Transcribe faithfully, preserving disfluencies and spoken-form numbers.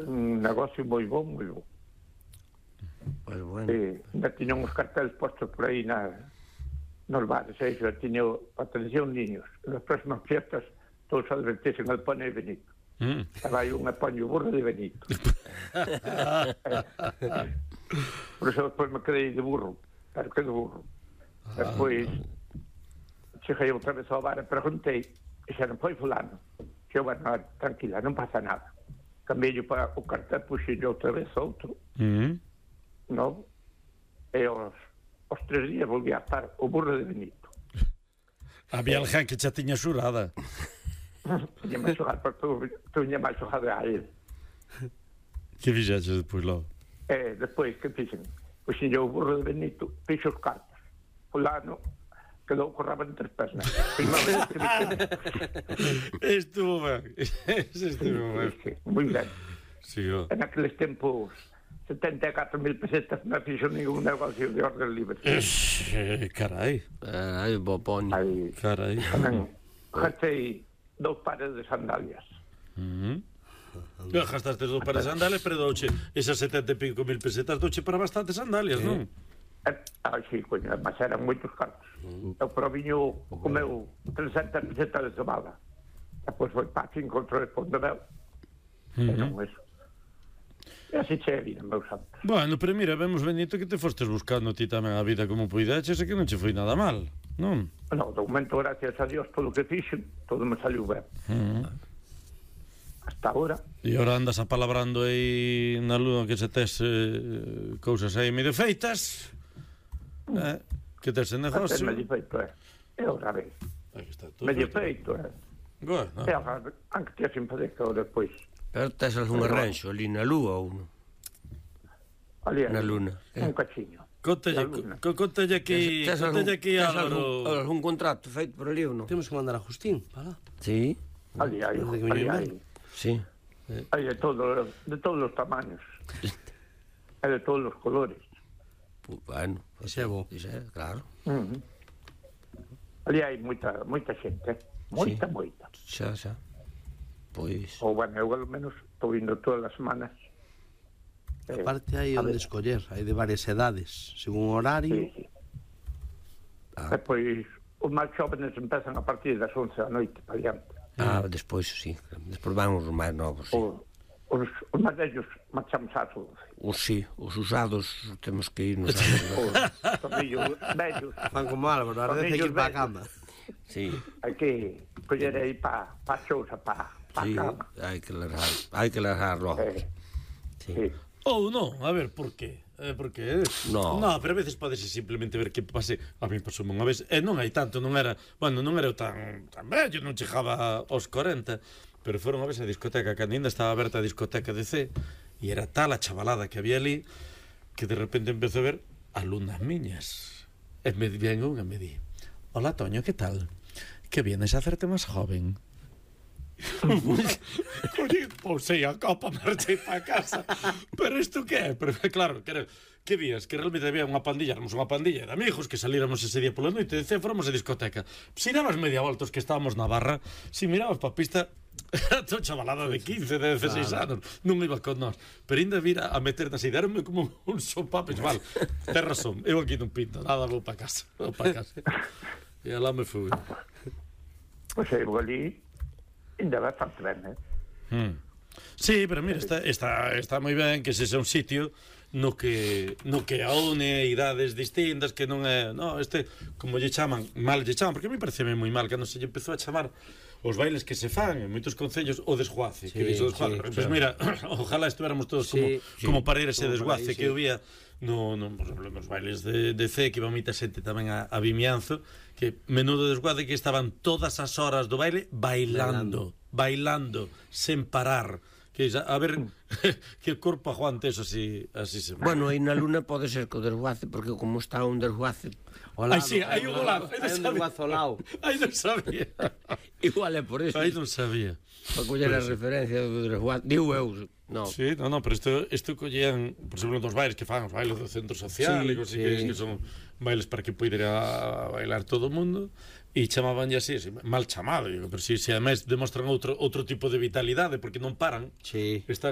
un negocio moi bon, moi bon. Pois bueno. E ainda tiñan uns carteles postos por aí na, nos bares, e xa tiño, atención, niños, nas próximas fiestas, todos advertisen al pone de Benito. Mm. Estaba aí un apaño burro de Benito. eh, por eso despois me quedei de burro, pero que de burro. Ah. Despois, cheguei outra vez ao bar e preguntei, e xa non foi fulano. Xe, bueno, tranquila, non pasa nada. Cambiei para o cartel, puxei outra vez outro. Mm. Non? E os, os tres días volví a estar o burro de Benito. Había alguén que xa tiña xurada. Tiña máis xogado, porque tu, tu tiña máis xogado a él. Que fixaxe despois logo? E despois, que fixen? Puxen o burro de Benito, fixo os cartos. Fulano quedou corraba en tres pernas. Estuvo ben. Estuvo ben. Moi ben. Sí, oh. En aqueles tempos, setenta e catro mil pesetas non fixo ningún negocio de orden libre. Eh, carai. Carai, bopón. Carai. Gastei dous pares de sandalias. Uh -huh. Gastaste dous pares de sandalias, pero douche esas setenta e pico mil pesetas douche para bastantes sandalias, non? Ah, sí, coño, mas eran moitos cartos. Eu proviño comeu trescentas pesetas de cebada. Depois foi para cinco outro de Pondebel. E non eso. E así che vida, meu santo. Bueno, pero mira, vemos, Benito, que te fostes buscando ti tamén a vida como puideches e que non che foi nada mal, non? Non, de momento, gracias a Dios, todo o que fixen, todo me saliu ben. Uh -huh. Hasta ahora. E ahora andas apalabrando aí na lúa que se tes eh, cousas aí medio feitas, eh, que tes en negocio. Medio feito, eh. E outra vez. Medio feito, eh. Bueno. E agora, anque te sin fazer que despois. Pero tes algún arranxo ali na lúa ou non? Ali, na luna. Un cachiño. Contalle aquí, contalle aquí Álvaro. Algún contrato feito por ali ou non? Temos que mandar a Justín para lá. Sí. Ali hai, ali hai. Sí. Hai de todos, de todos os tamaños. Hai de todos os colores. Bueno, ese é bo. Claro. Ali hai moita, moita xente, moita, moita. Xa, xa. Pois... Ou, bueno, eu ao menos estou indo todas as semanas. Aparte hai onde escoller, hai de varias edades, según o horario. Sí, sí. Ah. Depois, os máis jóvenes empezan a partir das once da noite para diante. Ah, despois, sí. Despois van os máis novos, sí. O, os, os máis vellos marchamos ás once. Os sí, os usados temos que ir nos os tornillos vellos. Fan como Álvaro, a veces que ir para a cama. Sí. Hai que coller aí para pa a xousa, para pa sí, a cama. hai que largar, hai que largar logo. Eh, sí. sí. Ou non, a ver, por qué? Eh, porque no. no, pero a veces podese simplemente ver que pase. A mí pasou unha vez, e non hai tanto, non era, bueno, non era tan tan vello, non chegaba aos corenta, pero foron a vez a discoteca, que ainda estaba aberta a discoteca de C, e era tal a chavalada que había ali que de repente empezou a ver alumnas miñas. E me ven unha e me di: "Hola, Toño, ¿qué tal? Que vienes a hacerte más joven?" Pousei a copa, marchei para casa. Pero isto que é? Pero claro, que, era, que vías? Que realmente había unha pandilla, éramos unha pandilla de amigos que salíramos ese día pola noite, e fóramos a discoteca. Si dabas media volta os que estábamos na barra, si mirabas pa pista, era todo chavalada de quince, de dezaseis anos, non iba con nós. Pero ainda vira a meter nas ideas, eranme como un sopapes, val. Ten razón, eu aquí non pinto, nada, vou para casa, vou para casa. E alá me fui. Pois eu ali ainda bastante ben, eh? Hmm. Sí, pero mira, está, está, está moi ben que ese é un sitio no que no que aúne idades distintas, que non é, no, este, como lle chaman, mal lle chaman, porque a mí parece moi mal cando se lle empezou a chamar os bailes que se fan en moitos concellos o desguace, sí, que dixo desguace. Sí, pois pues mira, ojalá estuéramos todos sí, como sí, como para ir ese desguace ahí, que eu vía no, no, por exemplo, nos bailes de, de C, que iba moita xente tamén a, a Vimianzo, que menudo desguace, que estaban todas as horas do baile bailando, bailando, bailando sen parar. Que a ver que o corpo aguante eso así, así se. Bueno, aí na luna pode ser que o desguace, porque como está un desguace. Ai, sí, hai un golazo, hai un desguazo ao lado. Ai, non sabía. Igual é por eso. Ai, non sabía. Para coller a referencia do desguace, digo eu. No. Sí, no, no, pero isto, isto collían, por exemplo, dos bailes que fan, os bailes do centro social, sí, e cosas sí. que, que son bailes para que poidera bailar todo o mundo, e chamaban así, así, mal chamado, digo, pero si, si ademais demostran outro outro tipo de vitalidade, porque non paran, sí. están